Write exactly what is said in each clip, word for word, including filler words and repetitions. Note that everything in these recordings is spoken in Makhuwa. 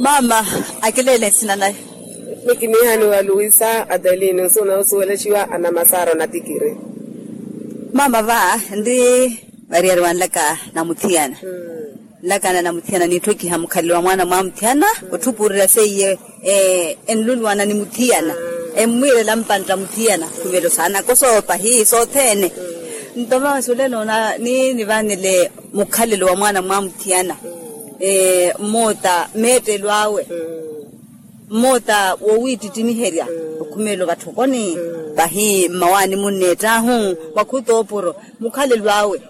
Mama, akileele nsina naye. Nikiniihani wa luisa adeline nsuuna osuwelexiwa anamasaaro na tikiri. Mama va ndi variyari wanlaka na muthiyana. Nlakana na muthiyana niitthokiha mukhalelo wa mwaana mwa muthiyana otthupuurerya seiye enlulwana ni muthiyana. Emmwiirela mpantta muthiyana khuvelo saana kosoopa hii sothene. Nto mama suleloona ni nivanele mukhalelo wa mwaana mwa muthiyana. Mmoota meettelo awe mmoota wowiittittimiherya okhumelo vatthokoni. Vahi mmawaani munneett'ahu mwakhutopuro mukhalelo awe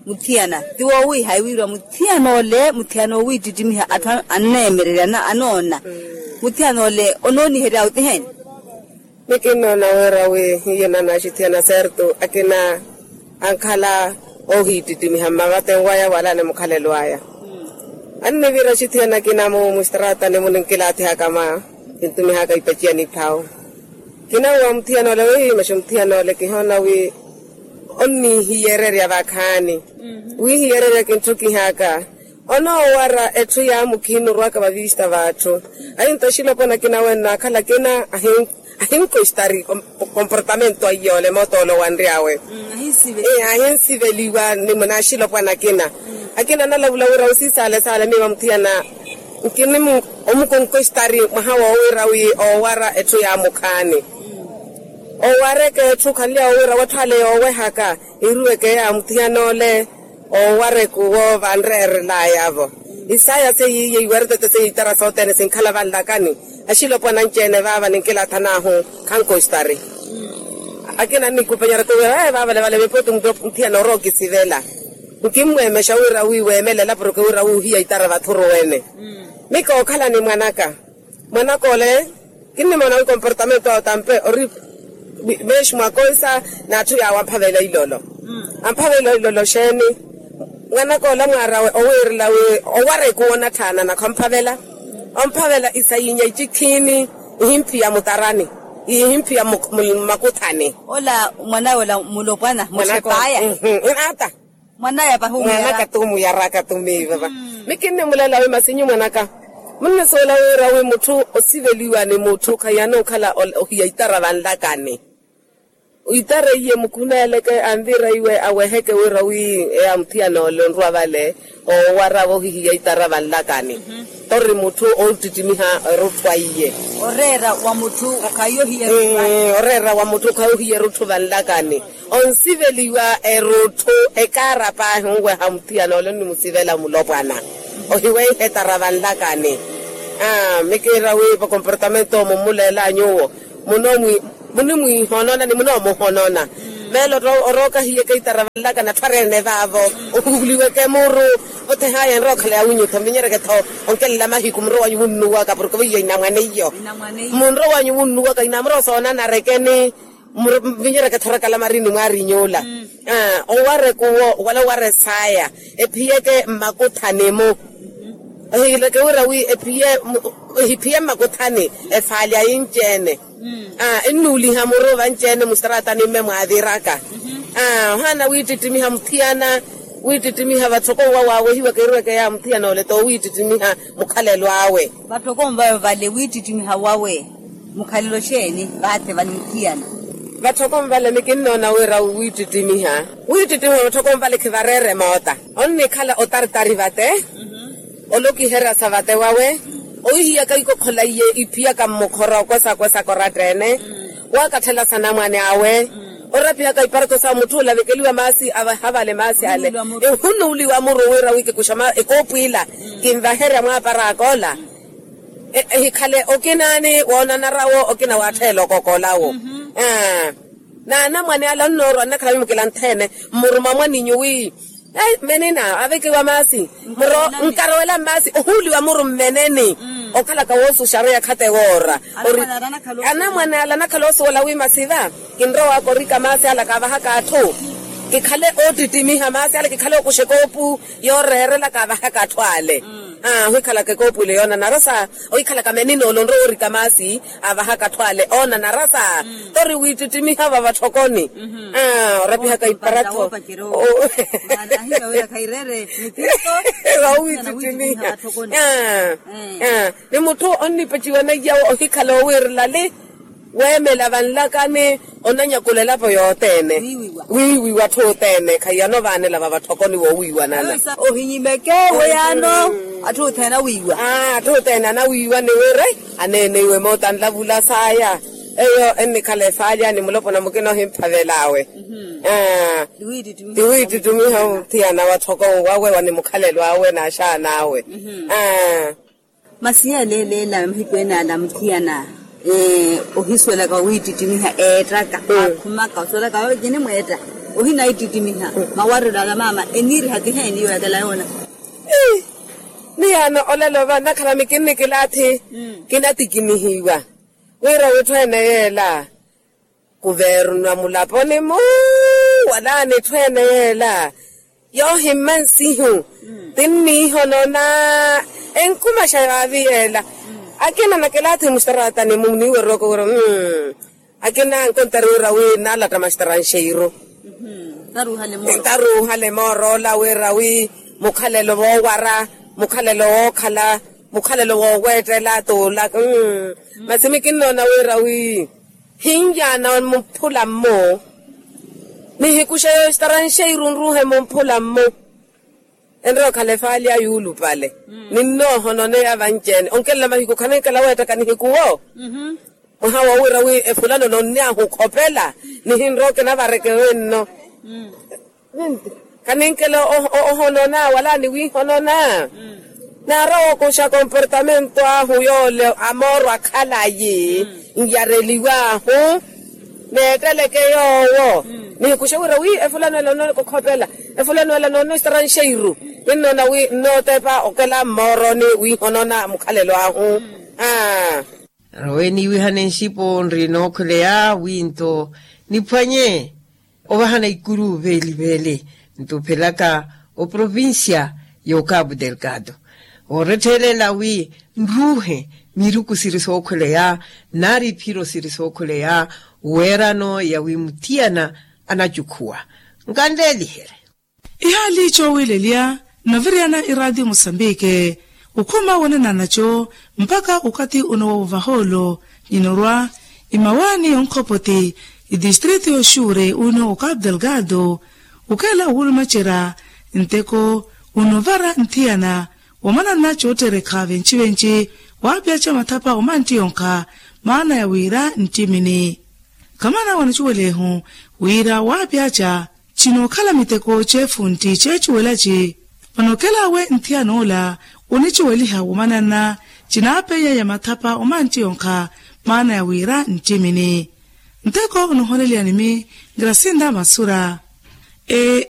muthiyana ti wowiiha ewiiriwa muthiyana ole muthiyana owiittittimiha atthu anneemererya anoona. Muthiyana ole onooniherya awe ti heni? Mikinnoona wira wi hiyo nanaxithiyana serto akina ankhala ohiittittimiha mmavaten waya wala ni mukhalelo aya. Anniviira axithiyana akina mu mustraatani muninkilaatihaka ma kintumihaka ipaciya ni phawu. Kinawa muthiyana ole wi maxi muthiyana ole kihoona wi onnihiyeererya vakhaani wihiyeererya kintthukihaka. Onoowara etthu ya mukhiini orwaka vavista vatthu. Ahinto axilopwana akina wenna akhala akina ahinkostari komportamento aiyole mootolo wanryawe. Ahinsiveliwa ni muna axilopwana akina akina analavula wira osisaale saale miiva muthiyana. Nkini omukonkostari mwaha woowira wi oowara etthu ya mukhaani. Owareke etthu khanly'awo wira watthu ale yoowehaka iruweke ya muthiyana ole. Owareke owo vanreerel'aya-vo isaya seiye iwertete seiye itara sothene sinkhala vanlakani. Axilopwana anci-ene vaava ninkilathan'ahu khankostari. Akina nnikupanyerya towiya vaavale vale veepooti muthiyana orookisivela. Nkimmweemexa wira wi weemelela porke wira wi ohiya itara vathuruwene. Mi kookhala ni mwanaka mwanaka ole kinnimoona wi komportamento awe tampe ori. Meexi mwakoisa n'atthu yaawe amphavela ilolo. Amphavela ilolo xeeni? Mwanaka ole mwaarawe owiirela wi owareke owo onatthaana nakho amphavela. Omphavela isayinya icikhiini ihimphiya mutarani ihimphiya mmakuthani. Ola mwanawe ola mulopwana muxepaya. Inaata mwanaya pahi omuyara. Mwanaka tuumuyaraka tumiiva va. Mi kinnimulela wi masinyu mwanaka munnisuwela wira wi mutthu osiveliwa ni mutthu khahiyanokhala ohiya itara vanlakani. Itara iye mukhuneeleke anvira iwe aweheke wira wi eya muthiyana ole onrwa vale oowara vohihiya itara vanlakani. Tori mutthu oottittimiha erutthu aiye. Oreera wa mutthu okhayi ohiya erutthu aiye. Oreera wa mutthu okhayi ohiya erutthu vanlakani. Onsiveliwa erutthu ekaara paahi onweha muthiyana ole onnimusivela mulopwana ohiweiha etara vanlakani. Mi kiira wi vakomportamento mummuleela nyuwo munimwiihonona ni munoomuhonona. Meelo orooka hiyeke itara vanlakani atthu areene vaavo ohuhuliweke muru. Othehaya enrookhala ya winyutho mvinyereke-tho onkelela mahiku munrowanyu wunnuwaka porke voiya inamwane iyo. Munrowanyu wunnuwaka inamuro soonana rekeni. Mvinyereke-tho orakala marini mwaarinyuula. Owareke owo wala owara esaya ephiyeke mmakuthani-mu. Ehileke wira wi ephiye mmakuthani efaali ayi nci-ene. Ennuuliha muru vanci-ene mustaraatani mme mwaaviraka. Ohaana wiittittimiha muthiyana wiittittimiha vatthoko nwa waawehiwaka eruweke ya muthiyana ole t'owiittittimiha mukhalelo awe. Vatthoko nvawe vale wiittittimiha wawe mukhalelo xeeni? Vaathe vale muthiyana. Vatthoko nvale mikinnoona wira wiittittimiha wiittittimiha vatthoko nvale khivareere moota. Onnikhala otartari vate olokiherya sa vate wawe ohihiyaka ikokhola iye iphiyaka mmukhora okwesa kwesa koratta-ene. Wakatthela sanamwane awe orapihaka iparto sa mutthu olavekeliwa maasi avaha vale maasi ale. Ehunuuliwa muru wira wi kikuxa ekoopu ila kinvaherya mwaaparaka ola. Ehikhale okinaani woonanarawo okina waattheela okokolawo. Naanamwane ala onnoorwa nnakhala mimukilanthene mmuruma mwaninyu wi menina avekiwa maasi. Nkarowela mmaasi ohuuliwa muru mmeneni. Okhalaka woosuxaru yakhate woora. Anamwane ala anakhala osuwela wi masiva kinrowaka orika maasi ala kaavahaka atthu. Kikhale oottittimiha maasi ala kikhale okuxa ekoopu yooreerela kaavahaka atthu ale. Ohikhalaka ekoopwile yoonanara sa ohikhalaka meninoolo onrowa orika maasi avahaka atthu ale oonanara sa. Tori wiittittimiha vavatthokoni orapihaka iparattho. Wawittittimiha. Ni mutthu onnipeciwa naiya ohikhala owiirela li weemela vanlakani onanyakulela vo yothene. Wiiwiwa atthu othene khaiyano vaanela vavatthokoni woowiiwanana. Ohinyimeke weyano atthu othene awiiwa. Atthu othene anawiiwa ni wira aneeneiwe mootanlavula saya. Eyo ennikhala efaalyani mulopo na mukina ohimphavelaawe. Tiwiittittimiha muthiyana watthoko wawe wa ni mukhalelo awe n'axaana awe. Masi yaleeleela mahiku ene ala muthiyana ohisuwelaka owiittittimiha eettaka akhumaka osuwelaka yoyo kinimweetta. Ohinaittittimiha mawarelo ala maama eniiriha kiheeni yooyakela yoona. Miyaano olalova nakhalami kinnikilaathi kinatikinihiwa wira witthu ene yeela kuvernwa mulaponi-mu wala ni itthu ene yeela yoohimma nsihu tinniihonona enkumaxa vaavi yeela. Akina nakilaathi mustaraatani-mu niiwererwaka wira akina ankontari wira wi naalatta mastaranxeiru ntaruuhale mooroola wira wi mukhalelo voowara mukhalelo wookhala mukhalelo wooweettela tuulaka. Masi mikinnoona wira wi hinyaana mumphula-mmu nihikuxa yoostaranxeiru nruuhe mumphula-mmu enrowa okhala efaali ya yuulupale ninnoohononeya vanci-ene onkelela mahiku khaninkela weettaka nihikuwo. Mwaha woowira wi efulano nonniyahu okhopela nihinrowa okinavareke wenno. Khaninkela ohonona wala niwiihonona naarowa okuxa komportamento ahu yoole amooro akhalayi nyareliwaahu neetteleke yoowo nihikuxe wira wi efulano ela noonona kokhopela efulano ela noonona ostaranxeiru ninnoona wi nnootepa okela mmooroni wiihonona mukhalelo ahu. Aa. Nrowe niiwihane nxipo nri nookhweleya wi nto niphwanye ovahana ikuru veeli veeli nto ophelaka oprovincia y'okapu delgado ooretthelela wi nruuhe miruku siri sookhweleya nari iphiro siri sookhweleya weerano ya wi muthiyana anacukhuwa nkanleeliherye. Ihaali coowilelya nnaviriyana iraatiyo musambike okhuma wonenanaco mpakha okathi ono wa ovahoolo ninorwa imawaani yonkhopoti itistriti yoxuure uno okapu delgado okela owulumacerya nteko onovara nthiyana wamana nnacootterekha venci-venci waapyaca mathapa omantti yonkha maana ya wira nttimini khamana wanacuwelehu wira waapyaca cinookhala miteko ceefuntti ceecuwelaci vano okelawe nthiyana ola onicuweliha womanana cinaapeya ya mathapa omantti yonkha maana ya wira nttimini nteko onihoneliyani-mi grasinda masura.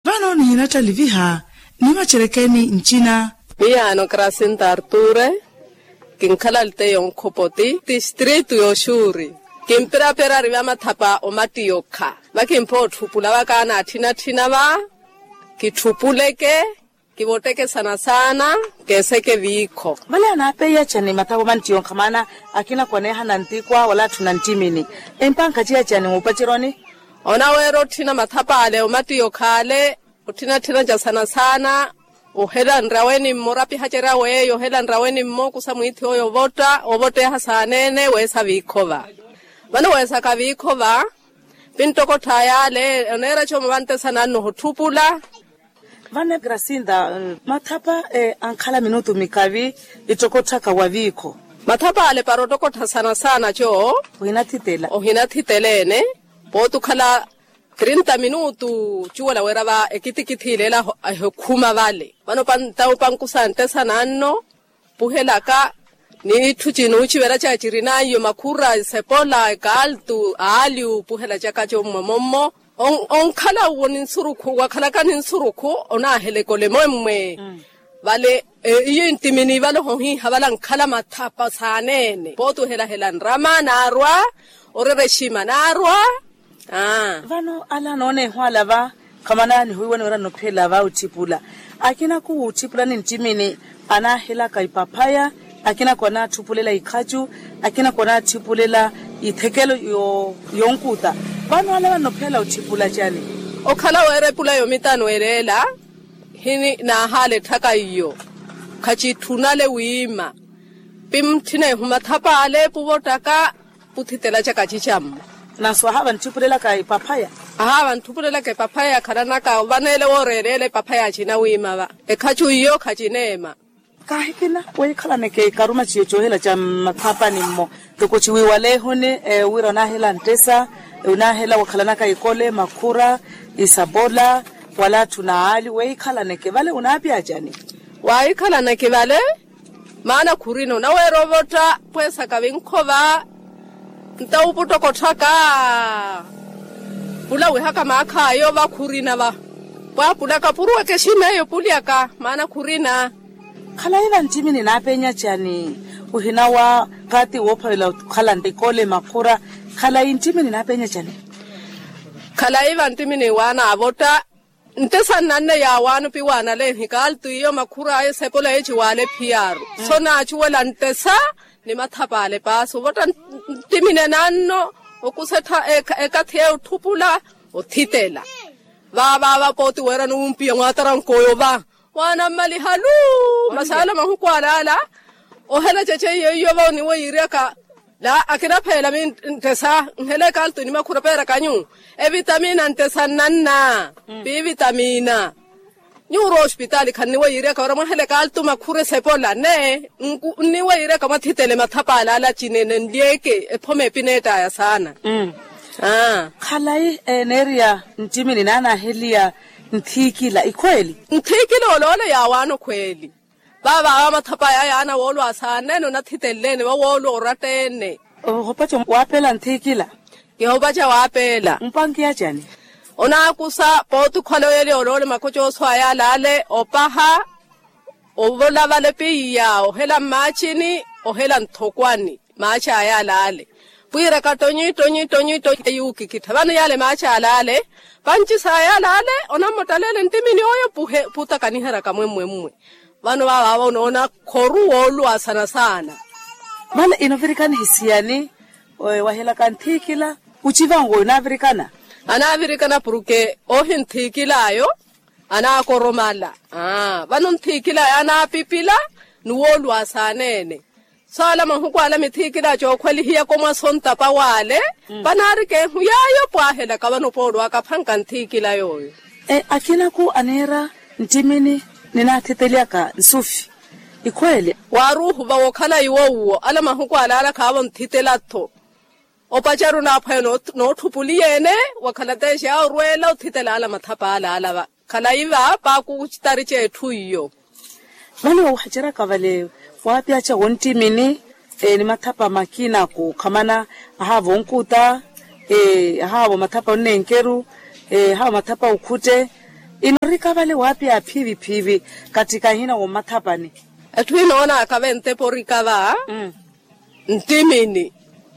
Vano nihinattaliviha nimacerekeni ncina. Miyaano grasinda arture kinkhala alteya onkhopoti tistritu yoxuuri kimpiraperari va mathapa omatti yokha vakimpha otthupula vakaana atthinatthina va kitthupuleke kivotteke saana-saana keeseke viikho. Vale anaapeiyacani mathapa omantti yonkha maana akina kwaneehana ntikwa wala atthu na nttimini empankha ciyacani muupaceroni. Onaweera otthina mathapa ale omatti yokha ale otthina-tthina ca saana-saana ohela nraweni mmo orapihacerya weeyo ohela nraweni mmo okusa mwiithi oyo ovotta ovotteha saaneene weesa viikhova vano weesaka viikhova pinttokottha yaale oneera cooma vanttesana nno ohutthupula. Vano grasinda mathapa ankhala minutu mikavi ittokotthaka wa viikho. Mathapa ale para ottokottha saana-saana co ohinathitela ohinathitela ene pooti okhala trinta minutu cuwela wira va ekitikithi ile ela ehikhuma vale vano panta opankusa nttesana nno puhelaka n'itthu cinuucivela caya cirinanyu makhura esepola ekaaltu aali upuhela caka commwe mommo onkhala uwo ni nsurukhu wakhalaka ni nsurukhu onaaheleka olemwemmwe vale iyo inttimini vale ohohiiha vale ankhala mathapa saaneene pooti ohelahela nrama naarwa orerexima naarwa. Vano ala anooneeho ala va khamana nihuwiwa niwira nnophela va otthipula akina khuwutthiphula ni nttimini Anaahelaka ipaphaya, akinako anaathupulela ikhacu, akinako anaathupulela ithekelo yonkuta. Vano ale vannophela otthipula cani? Okhala weera epula yomitano elela hini naahaala etthaka iyo. Khacitthunale wiima pimutthina ehu mathapa ale puvottaka puthitela caka cicammo. Naso ahaava nthipulelaka epaphaya. Ahaava nthipulelaka epaphaya khalanaka vaneele wooreeleela epaphaya acina wiima va. Ekhacu iyo khacineema. Kaahikina weikhalaneke ikaruma ciyo coohela ca mmathapani mmo. Toko ciwiiwalehuni wira onaahela nttesa, onaahela wakhalanaka ikole makhura, isapola, wala atthu n'ali weikhalaneke vale onaapya acani? Waikhalaneke vale maana khurina onaweera ovotta pweesaka vinkhova. Nta uputtoko otthaka pula wihaka maakhaayo va khurina va. Pwaapulaka puruwaka exim'eyo pulyaka maana khurina. Khalayi vanttimini naapenya cani? Ohina wa kaati woophavela okhala ikole makhura. Khalayi nttimini naapenya cani? Khalayi vanttimini waana avotta nttesa nnanne yaawaano piwaana leehi kaaltu iyo makhura ayo esepola eyo ciwaale phiyaaru. So naacuwela nttesa ni mathapa ale paasi ovotta nttimini enaanno okusa ekathi eyo otthupula othitela. Vaavaava pooti weerani wumpiya mwaatarank'oyo va waanammaliha luu. Masaala mahuku alaala ohela cece iyo iyo va oniwo yiiryaka. La akinapheela mi nttesa nhela ekaltu ni makhura peeraka nyu evitamina nttesa nnanna piivitamina. Nyuurwa ospitaali khanniwo yiiryaka wira mwahela ekaltu makhura esepola ne nniwo yiiryaka mwathitele mathapa alaala cinene nlyeke ephomeepi neettaya saana. Khalayi neeriya nttimini naanaaheliya nthikila ikhweeli? Nthikila oloole yaawaano khweeli. Vaavaava mathapa aya yaana woolwa asaanene onathiteleene vawoolwa oratta-ene. Ohopaca waapeela nthikila? Kihopaca waapeela. Mpankiya cani? Onaakusa pooti okhwala oyeliya oloole makocoso aya alaale opaha ovolavala epeiya ohela mmaacini ohela nthokwani. Maaci aya alaale pwiiraka ttonyi ttonyi ttonyi ttonyi eyuukikittha vano yaale maaci alaale. Vancisa aya alaale onammottaleela enttimini oyo puhe puutakaniheryaka mwemmwemmwe. Vano vaavaava onoona khoru wooluwa saana saana. Vale inovirikana hisiyani? Wahelaka nthikila ucivango inaavirikana. Anaavirikana purke ohi nthikil'ayo anaakoromala. Vano nthikil'ayo anaapipila ni wooluwa saaneene. Saala mahuku ala mithiikila cookhwelihiyaka omwasonta pawaale. Panaarika ehu yaayo pwaahelaka vano pooluwaka phanka nthiikila yooyo. Akinaku aneera nttimini ninaathitelyaka nsufi ikhweele. Waaruuhu vawo okhala iwo uwo ala mahuku alaala khaavo nthitela-tho. Opacaru naaphwaya nootthupuliya-ene wakhala teexa orweela othitela ala mathapa alaala va. Khalayi va paakucitari c'etthu iyo. Vale wawahaceryaka vale waapyaca wonttimini ni mathapa makina kookhamana ahaavo onkuta ahaavo mathapa onnenkeru ahaavo mathapa okhutte. Inorika vale waapya phiivi phiivi katthi kahina wommathapani. Etthu inoonaka ventepa orika va nttimini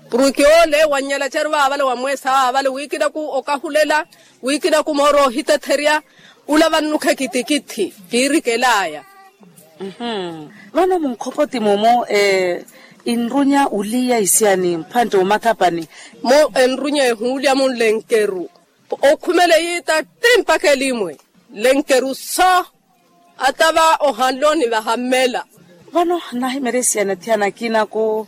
purke ole wannyala caru vaavale wamweesa vaavale wiikinaku okahulela wiikinaku mooro ohitetherya. Ula vannukhekitikithi kiirikel'aya. Vano munkhopoti mumu inrunya uliya isiyani mphantte omathapani? Mu enrunya ehuulya munlenkeru okhumela eyiita tti mpaka elimwe nlenkeru so. Ata va ohanloni vahammela. Vano nnahimeresiyana thiyana akinaku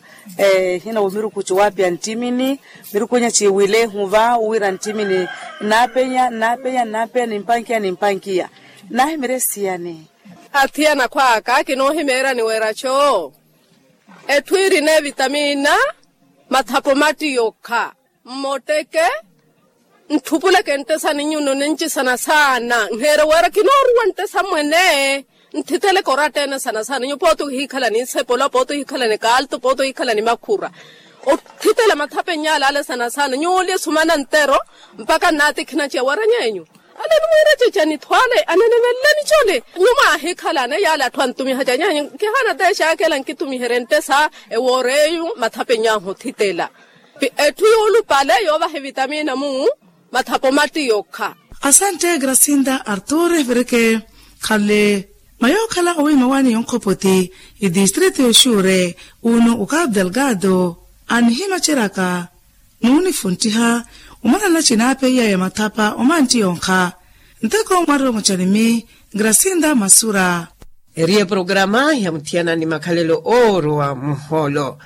hina womiruku ciwaapya nttimini miruku inya ciiwilehu va wira nttimini nnaapenya nnaapenya nnaapenya nimpankiya nimpankiya. Nnahimeresiyani? Athiyana akhw'aka kinoohimeeryani wira co etthu irina evitamina mathapo matti yokha. Mmotteke ntthupuleke nttesa ni nyuno nincisana saana nheere wira kinooruwa nttesa mwene. Nthiteleke oratta-ene sana saana nyuwo pooti ohiikhala ni nsepola pooti ohiikhala ni kaalto pooti ohiikhala ni makhura. Othitela mathapa enyaalaale sana saana nyuwo olye sumana ntero mpaka nnaatikhina ciya wira nyeenyu ale nimwiira cecani tho ale aneneveleleni cole. Nyuwo mwaahikhalane yaale atthu antumiha ca nyeenyu kihaana teexaakela nkitumiherye nttesa ewoor'eyu mathapa enyaahu othitela. Etthu yoolupale yoovaha evitamina mu mathapo matti yokha. Asantte grasinda artur evireke khale. Mayookhala owiima waani yonkhopoti itistrito yoxuure, uno ukapu delgado anihimaceryaka nuunifunttiha. Omanana cinaapeiyaya mathapa omantti yonkha nteko mwariro mucanimi grasinda masura. Eri eporograma ya muthiyana ni makhalelo oorowa muhoolo.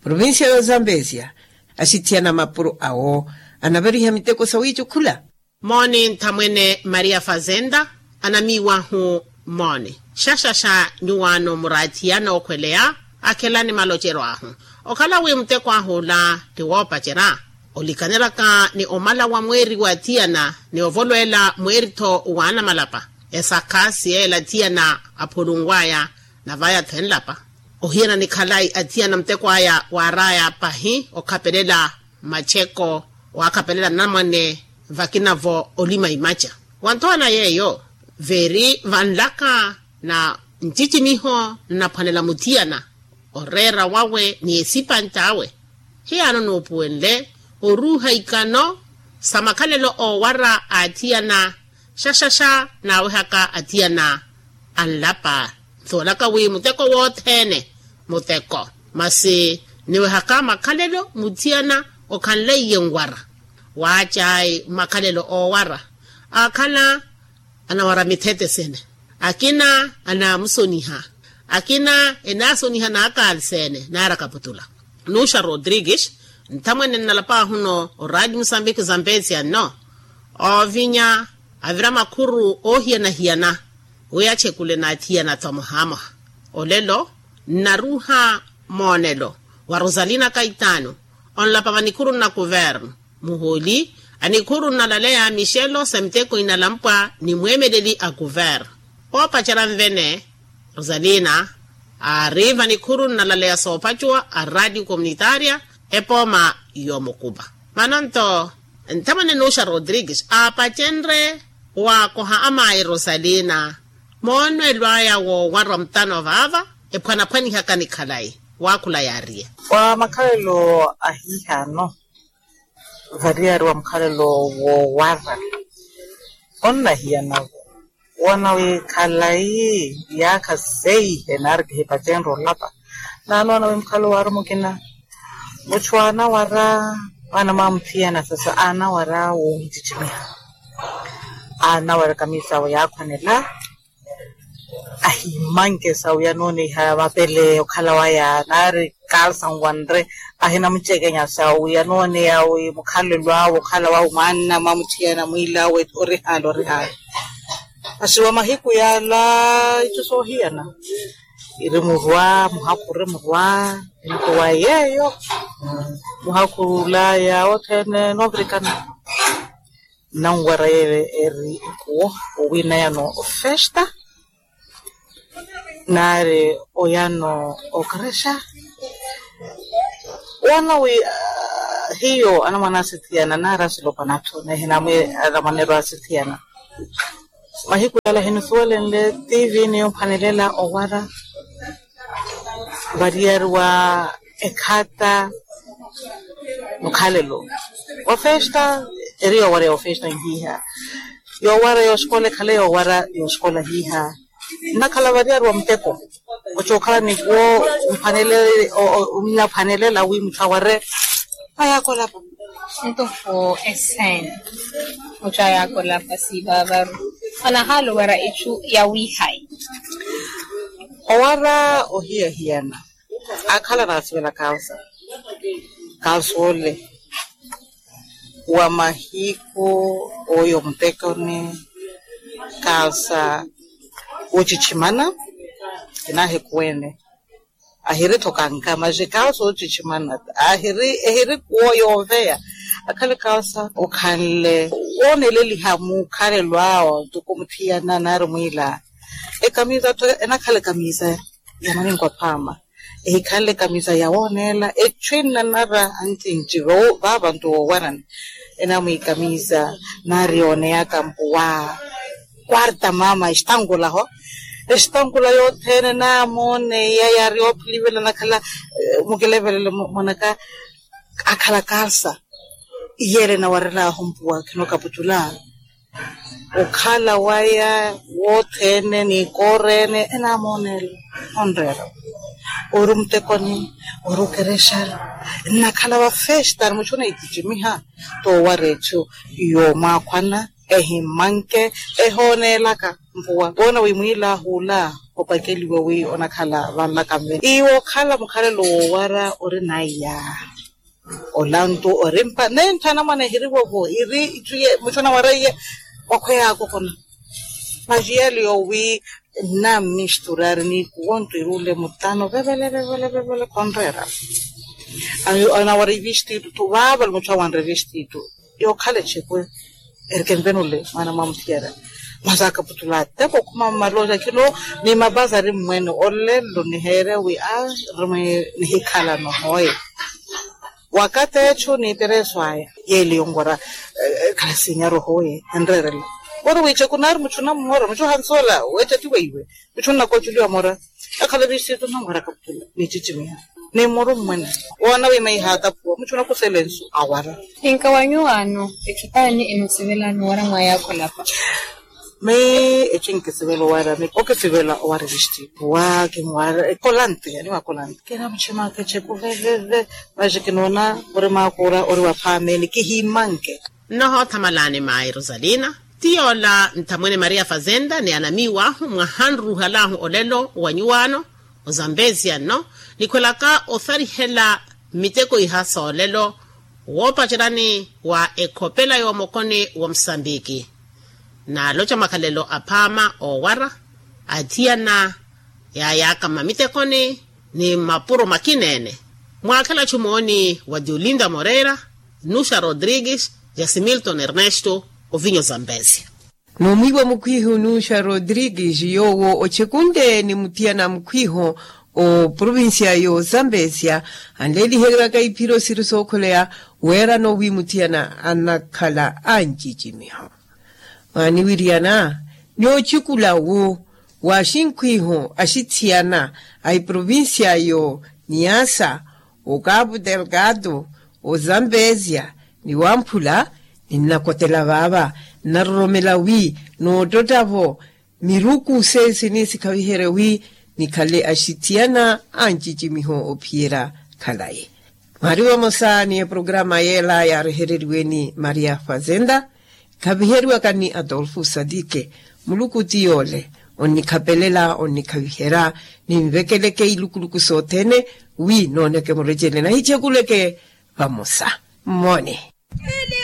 Provincia ya ozambesia axithiyana mapuro awo anavariha miteko sawiicukhula. Mooni nthamwene maria fazenda anamiiwahu mooni xaxaxa nyuwaano muraathiyana okhweleya akhelani maloceryo ahu. Okhala wi muteko ahu ola ti woopacerya olikanelaka ni omala wa mweeri wa athiyana ni ovolweela mweeri-tho waana malapa esakha siyeela athiyana aphulunwaya navaya-tho enlapa. Ohiyana ni khalayi athiyana muteko aya waaraya pahi okhapelela macheko waakhapelela anamwane vakina-vo olima imaca. Wanthowana yeeyo veeri vanlaka na ncicimiho nnaphwanela muthiyana oreera wawe ni esipantt'awe. Hiyaano nuupuwenle oruuha ikano sa makhalelo oowara a athiyana xaxaxa naawehaka athiyana anlapa. Nsuwelaka wi muteko wothene muteko masi niwehaka makhalelo muthiyana okhanleiye nwara. Waacayi makhalelo oowara akhala anawara mithetesene akina anaamusoniha akina enaasoniha naakaalseene naara kaputula. Nuxa rodrigues nthamwene nnalapaahuno oraadi musambiki zambezia nno oovinya avira makhuru oohiyana-hiyana wi achekule n'athiyana-tho muhaamuha. Olelo nnaruuha moonelo wa rosalina kaitaano onlapa vanikhuru nna kuvernu muhooli a nikhuru nnalaleya mixelo sa miteko inalampwa ni mweemeleli a kuvernu. Oopacerya nvene rosalina aari vanikhuru nnalaleya soopacuwa a radio communitaria epooma y'omukupa. Vano-nto nthamwene nuxa rodrigues aapacenrye waakoha amaayi rosalina moonwelo aya woowarwa mutano vaava ephwanaphwanihaka ni khalayi. Waakhula yaariye wa makhalelo ahiihaano variyari wa mukhalelo woowara onnahiyana-vo woona wi khalayi yaakha seihe naari kihipacenrye olapa. Naanoona wi mukhalelo waari mukina muchu aanawara waana mwamuthiyana sasa aanawara woohicicimiha aanawara ekamisa awe yaakhwanela ahimanke sa wi anooneiha mapele okhala waya naari kalsa nwanre ahinamucekenya sa wi anooneya wi mukhalelo awe okhala wawe mwaanna mwamuthiyana mwiil'awe orihaala orihaala. Masi wa mahiku yaala icu soohiyana iri murwa muhakhu iri murwa nto wa yeeyo muhakhu ula ya othene noovirikana. Nnanwara yeeyo eri nkuwo owiinayano ofesta naari oyano okrexa woona wi hiyo anamwane asithiyana naari asilopa nathu nehinamwi anamwaneru asithiyana. Mahiku yala hinusuwelenle tivi ni yomphwanelela owara variyari wa ekhata mukhalelo wa festa eri yoowareya ofesta nhiiha yoowara yoosikola ekhale yoowara yoosikola hiiha. Nnakhala variyari wa muteko ocookhala ni kuwo nnaphanelela wi mutthu aware. Ayaakolapa ntufu esene mutthu ayaakolapa siivavaru anahaala owara itthu yawiihayi. Owara ohiyahiyana akhala naasivela kalsa kalsa ole wa mahiku oyo mutekoni kalsa wochichimana kinahikuwene ahiri tho kankama jikaawo soochichimana ahiri ehiri kuwo yooveya. Akhale kaawo sa okhanle wooneleliha mukhalelo awo ntuku muthiyana naari mwiila ekamisa tho enakhala ekamisa ya maninko aphaama ehikhanle ekamisa ya wooneela echu enanara ancinci vaava nto woowarani enamwikamisa naari yooneyaka mpuwa kwarta mama estankula ho estankula yothene naamooneya yaari yoophilivela nakhala mukilevelele mwanaka akhala kalsa iyeele enawarelaahu mpuwa khinokaputula. Okhala waya wothene ni koorene enamooneela onreera ori omutekoni ori okerexari. Nnakhala vafestari muchu oneititimiha toowara echu yoomwakhwana ehimmanke ehooneelaka mpuwa woona wi mwiilaahula opakeliwe wi onakhala vanlaka mvene iwo okhala mukhalelo woowara ori naiya. Olantu orimpa nentthana mwana ehirivovo iri ichuye muchu nawara iye wakhweya akokona. Majiya liyo wi nnammisturari ni kuwontu iri ule mutano vevele vevele vevele konreera. Anawara ivistitu tu vaavale muchu awanre ivistitu yookhala echekwe. Erikempenule mwana mwamuthiyara masi akaputula ateko okhuma mmalooja khino ni mapazari mmwene olelo niheere wi a rimwe nihikhalano hooye. Wakati echu ni pereso aya yeeli yonwara khalasinya rohoye enreerela ori wiicheku naari muchu nammora muchu ohansoola weecha ti weiwe. Muchu nnakochuliwa mora akhala vistitu nnamwara akaputula nichichimiha ni muru mmwene woona wi maiha atapuwa muchu nakusela ensu awara. Ninka wanyuwaano echupaani enosivelani owara mwaya akhulapa. Mei echinkisivela owara mei okisivela owara evistitu wa kimwara ekolante yaniwa kolante kinamuchimaka echeku veveve. Vaxi kinoona ori makuura ori waphaameni kihimanke. Nnohoothamalani mayi rosalina ti yoola nthamwene maria fazenda ni anamiiw'ahu mwahanruhalahu olelo wa nyuwaano ozambezia nno nikhwelaka otharihela mmiteko iha soolelo woopacerani wa ekhopela yoomokoni wa musambiki. Naaloca makhalelo aphaama oowara athiyana yaayaka mmamittekoni ni mmapuro makina-ene. Mwaakhela-tho mooni wa diolinda moreira, nuxa rodrigues, jasimilton ernesto, ovinyo zambezia. N'umwiiwa mukhwiihu nuxa rodrigues yoowo ochekunle ni muthiyana mukhwiiho oprovincia y'ozambezia anleeliheryaka iphiro siri sookholeya weerano wi muthiyana anakhala ancicimiho. Mwaaniwiryana ni ochikula wu wa xinkhwiiho axithiyana a iprovincia yo niasa okapu delgado ozambezia ni wamphula. Ninnakotela vaava nnaroromela wi noottotta-vo miruku seesi nisikhaviherye wi nikhale axithiyana ancicimiho ophiyerya khalayi. Mwaari vamosa ni eprograma yeela yaarehereriwe ni maria fazenda ekhaviheriwaka ni adolfo sadike. Muluku ti yoole onnikhapelela onnikhaviherya ninvekeleke ilukuluku sothene wi nooneke murecele nahichekuleke vamosa. Mmoone.